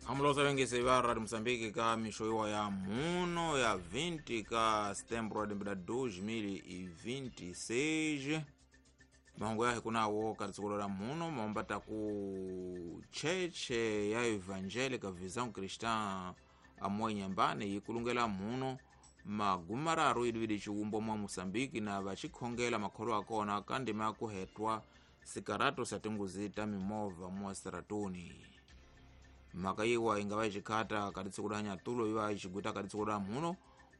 Amulosa vengese va Radio Moçambique ka mixo ya muno ya 20 ka setembro de 2026. Mahungu yahe kunawo ka la muno maombata ku cheche ya Evangélica Visão Cristã amwe Nyambane yikulungela muno magumararu idividi chiwumbo mwa Moçambique na vachikhongela makholo akona kandima ya kuhetwa sikarato sa tinguzi ta mimovha mwa seratuni. Mhaka yiwa ingava ichikhata kati da nyatulo iva ichigwita kati da muno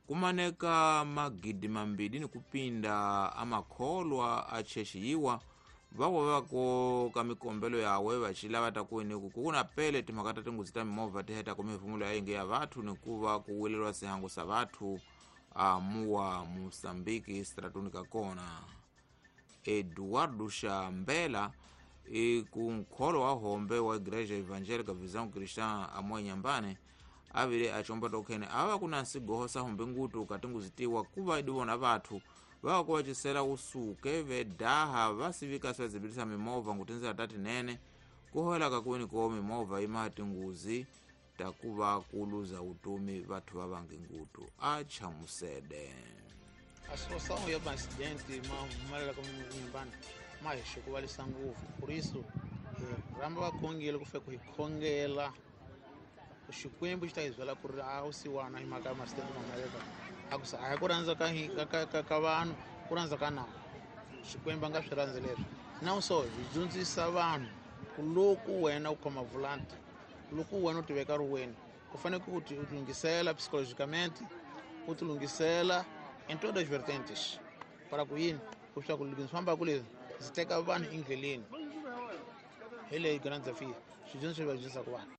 kumaneka magidi mambiri ni kupinda amakholwa achechi yiwa vavo vako ka mikombelo yawe vachilava takuini kukuna pele timhaka ta tinguzi ta mimovha tiheta ku mihefumulo ya inge ya vathu nikuva kuwelelwa sihango sa vathu amuwa Moçambique stratuni kakona. Eduardo Shambela ku nkholo wa hombe wa Igreja Evangélica Visão Cristã amwe Nyambane avile achomba tokhene ava kuna nsigoho sa hombe ngutu katinguzitiwa kuva idivona vathu vava kuvacisela usuke vedaha vasivika sivazipitisa mimovha ngutinzela tatinene kuhoela kakwini ko mimovha imaha tinguzi takuva kuluza utumi vathu vavangi ngutu achamusede. A situação ya acidente mahumelela ka Nyambane ma hi xukuvalisa ngopfu, por isso hi rhamba vakhongeli ku fika ku hi khongela Xikwembu xi ta hi byela ku ri a wu siwana hi mhaka ya ma-accident ma humelela a ku sa a hi ku rhandza ka vanhu ku rhandza ka nawu Xikwembu a nga swi rhandzi leswi. Na so hi dyondzisa vanhu ku loko wena u khoma volante, loko wena u ti veka ri wena u fanele ku ti lunghisela psychologicamente, u ti lunghisela em todas as vertentes para ku yini leswaku loko ndzi fambaka leswi ndzi teka vanhu endleleni. Hi leyi grand desafio swidyondzo leswi va dyondzisaka vanhu.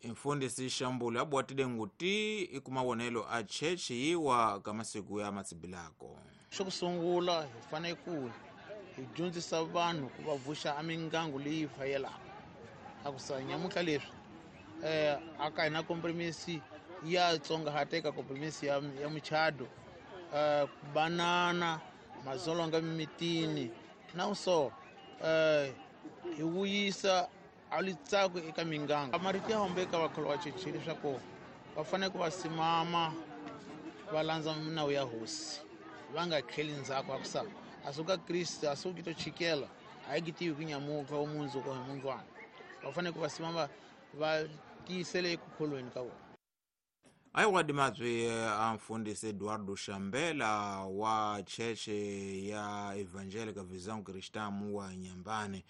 Mfundisi Shambulu abwatile nguti ikumawonelo a chechi yiwa ka masiku ya matsibilako. Xo ku sungula hi fanele ku hi dyondzisa vanhu ku va vuxa emingangu leyi fayelaka. A ku sa nyamutlha leswi a ka hina kompromisi ya tsongahateka kompromisi ya muchado, ku banana mazolonga mimitini na so hi vuyisa a litsako eka minganga. Marito ya hombe eka vakholo va cheche leswaku va fanele ku va simama va landza minawu ya hosi va nga tlheli ndzhaku. A ku sa a suka Kriste a suki to chikela a yi tivi ku nyamuka wa mundzuku hi mundlwana. Va fanele ku va simama va tiyisele eku kholweni ka vona. Ayiwadi mabyi a mfundisi Eduardo Shambela wa cheche ya Evangélica Visão Cristã wa Nyambane.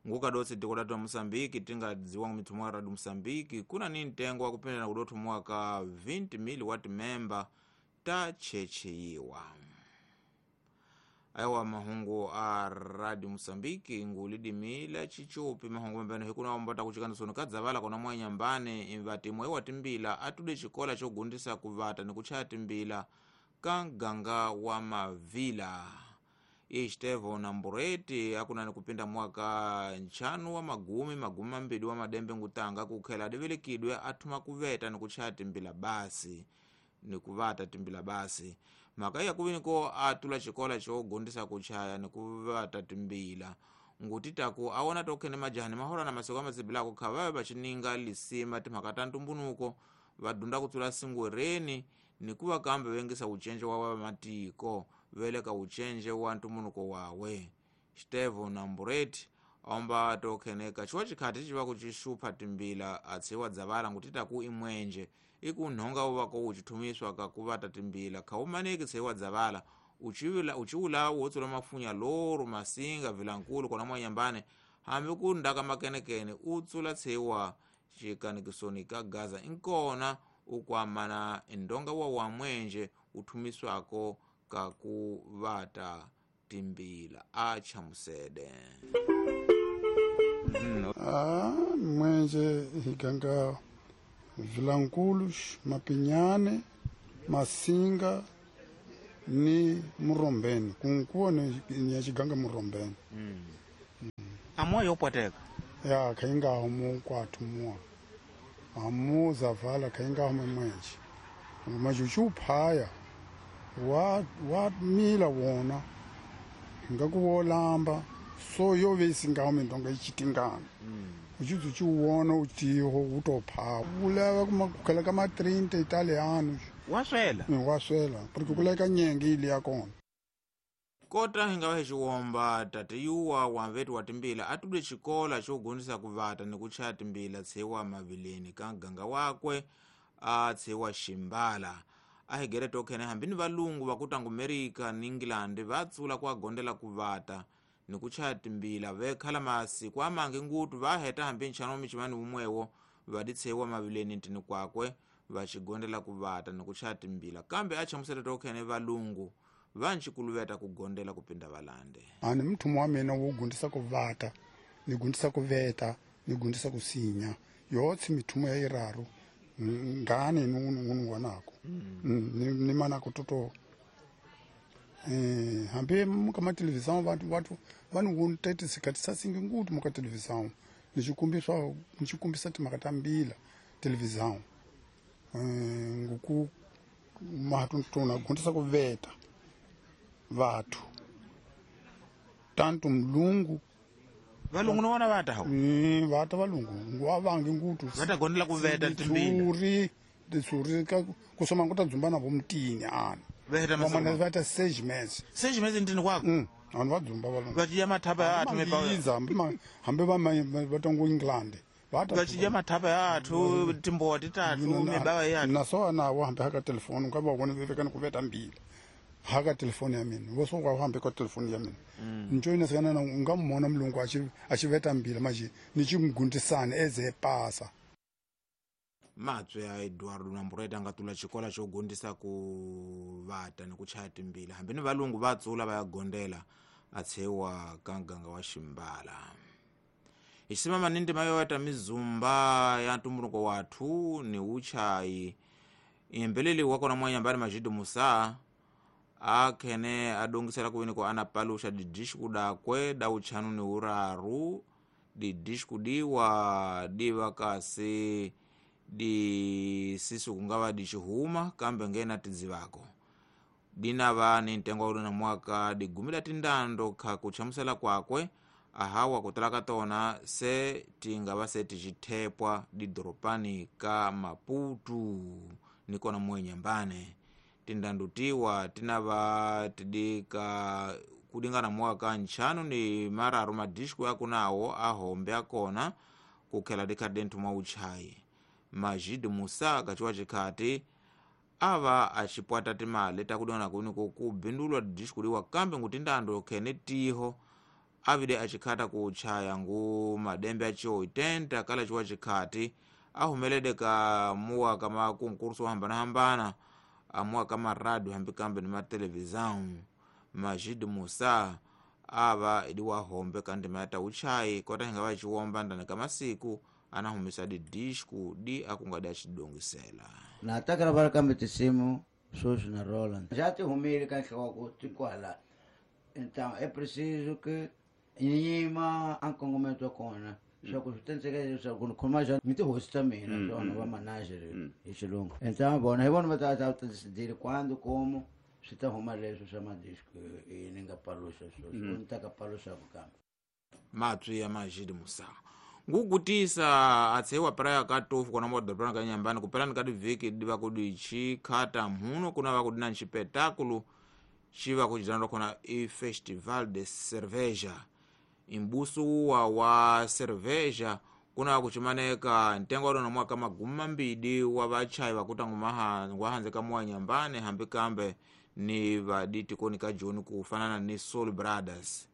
Ngukadotsi tiko latu wa Moçambique tingadziwa mithumo ya Radio Moçambique kuna ni ntengo wa kupindana kudothumuwa ka 20,000 wa timemba ta cheche yiwa. Aiwa mahungu a Radio Moçambique ngulidimila chichupi mahungu mambeno hikuna ombata kuchikandisoni kadzavala kona mwa Nyambane imvati mwe wa timbila atude chikola chogundisa kuvata ni kuchaya timbila ka mganga wa mavila. Estevo na Mbureti akuna ni kupinda mwaka nchanu wa magumi mambili wa madembe ngutanga kukhela adivilikidwe athuma kuveta ni kuchaya timbila basi ni kuvata timbila basi. Mhaka ya kuviniko atula chikola chogundisa kuchaya ni kuvata timbila ngutitaku awona tokhene majani mahola na masoko amazibilako khavawe vachininga lisima timhaka ta ntumbunuko vadunda kutsula singwereni nikuva kambe vengisa uchenje wa vamatiko veleka uchenje wa ntumbunuko wawe. Stevo na Mbureti omba tokheneka chiwa chikhati chiva kuchixupha timbila atsiwa dzavala ngutitaku imwenje ikunhonga uvako uchithumiswa kakuvata timbila khaumaneki tseiwa dzavala uchiulawu wotsula mafunya loru masinga vilankulu kona mwa Nyambane hambi ku ndaka makenekene utsula tseiwa chikanikisoni ka Gaza inkona ukwamana ndonga wa wamwenje uthumiswako kakuvata timbila achamusede. Mwenje higanga Vilankulu, Mapinyane, Masinga ni Murombeni. Kunkuwa ni yachiganga Murombeni. Amwa yopwateka? Ya, kainga homu kwa tumua. Amu zavala kainga homu mwenje. Majuchu phaya wa mila wona. Ngakuwolamba so yo vesinga homu ndonga ichitingana. Uchizu chiuona utiho utopha. Uleva kukhela ka ma 30 italiano. Waswela. Waswela, porque kuleka nyenge ile yakona. Kota hingawa xiwomba tate yuwa wamveti wa timbila atude xikola xo gundisa kuvata ni ku chaya timbila tshewa mavileni ka ganga wakwe a tshewa ximbala. A higere tokhene hambi ni valungu va ku tangu Amerika ni England va tsula ku agondela kuvata ni ku chaya timbila vekhala masiku amangi ngutu va heta hambi nchano wa michimani wumwewo va di tshewa mavileni ntini kwakwe va xigondela kuvata ni ku chaya timbila kambe a chamusela tokhene valungu vanchikuluveta kugondela kupinda valande. Ani mthumo wa mina wo gundisa kuvata ni gundisa kuveta ni gundisa kusinya yotsi mithumo ya iraru ngani nunu wanako ni mana kutoto hambi muka ma televisão vantu vanhu wontete sikati sasingi ngutu muka televisão nichikumbiswa nichikumbisa timhaka ta mbila televisão nguku mahatuna gundisa kuveta vathu tanto mlungu valungu no vona vata hawo vata valungu ngwavangi ngutu vata gondela kuveta timbila titsuri ka kusoma nguta dzumba navo mutini ana veta vamwe vata 6 meses 6 meses ntini kwako vanhu va dzumba valungu vachiya mathapa ya athu mepa hambi va vatongo England vachiya mathapa ya athu timbowa titatu mibawa ya athu naso navo hambi haka telefoni ka va vona vekani kuveta mbila haka telefoni ya mina vo so kwa hambi ka telefoni ya mina njoyina sikana na nga mona mulungu a xiveta mbila manje ni ximgundisana eze pasa. Matswe ya Eduardo Nambureta nga tula xikola xo gundisa ku vata ni ku chaya timbila hambi ni valungu va tsula va ya gondela a tshewa ka nganga wa ximbala. Hi ximama ni ndima yo ta mizumba ya ntumbuluko wathu ni uchayi impeleli wa kona mwanyambani Majidu Musa akhene adongisela kuwini ko ana palusha didishi kudakwe da uchanu ni uraru didishi kudiwa diva kasi di sisu kungava dicihuma kambe ngena tidzivako dinava ni ntengo wa na mwaka digumila tindando kha kuchamusela kwakwe ahawa kutala ka tona se tingava se ticithepwa didoropani ka Maputo nikona mwenyambane tindando tiwa tinava tidika kudingana mwaka nchanu ni mararu madisku yakunawo ahombe akona kukhela dikhadentu mwa uchayi. Majid Musa kachiwa chikhati ava achipwata timali takudona kuniko kubindulwa disku liwa kambe ngutindando khene tiho avide achikhata kuchaya ngu madembe achiwo 80 kala chiwa chikhati ahumelede ka muwa kama kunkurso hambana amuwa kama radio hambi kambe ni matelevisão. Majid Musa ava idiwa hombe kandima yata uchayi kota hingawa chiwomba ndani kamasiku anahumisa di disku di akungadi achidongisela. Nataka bara kambe tisimu soso na Roland. Já te humile ka nhloko tikwala. Então é preciso que nyima ankongomento kona. Só que tem que ser com com mais me te hosta mina, só não va manager e xilungu. Então bom, eu vou botar a decidir quando, como se tá arrumar isso chama disco e ninguém parou só, não tá parou só kambe. Matwi ya Majid Musa. Ngugutisa atsewa praia katofu kona modorobani ka nyambani kupelani kati vhiki diva kudi chikhata mhuno kuna va kudi na nxipetakulu xiva kucidanwa kona i Festival de Cerveja. Imbusu wa cerveja kuna kuchimaneka ntengo wa mwaka magumi mambidi wa vachayi vakuta ngwahanze ka mwa nyambani hambi kambe ni vaditi koni ka Joni kufanana ni Soul Brothers.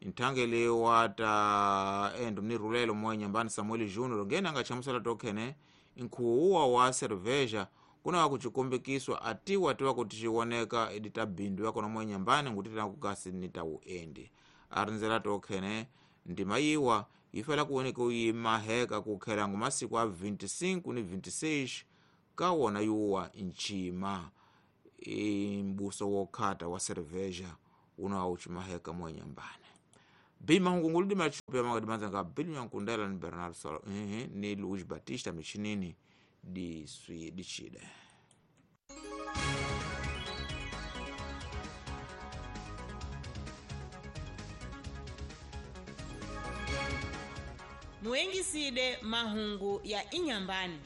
Nthangele wata endo ni rulelo mwa nyambani Samuel Junior ngena nga chamusela tokhene nkhuwa wa cerveja kuna wakuchikumbikiswa atiwa tiwa kuti chiwoneka edita bindu yakona mwa nyambani ngutitana kukasi nita uendi arinzela tokhene ndima yiwa ifela kuoneka uyimaheka kukhela ngumasiku a 25 ni 26 kawona yuwa nchima imbuso wokhata wa cerveja una uchimaheka mwa nyambani. Bima hungunguludi machupi ya mangadimanza nga Bilu Nyankundela ni Bernardo Salo, ni Luiz Batista michinini di swi di chide. Muengisile mahungu ya Inyambani.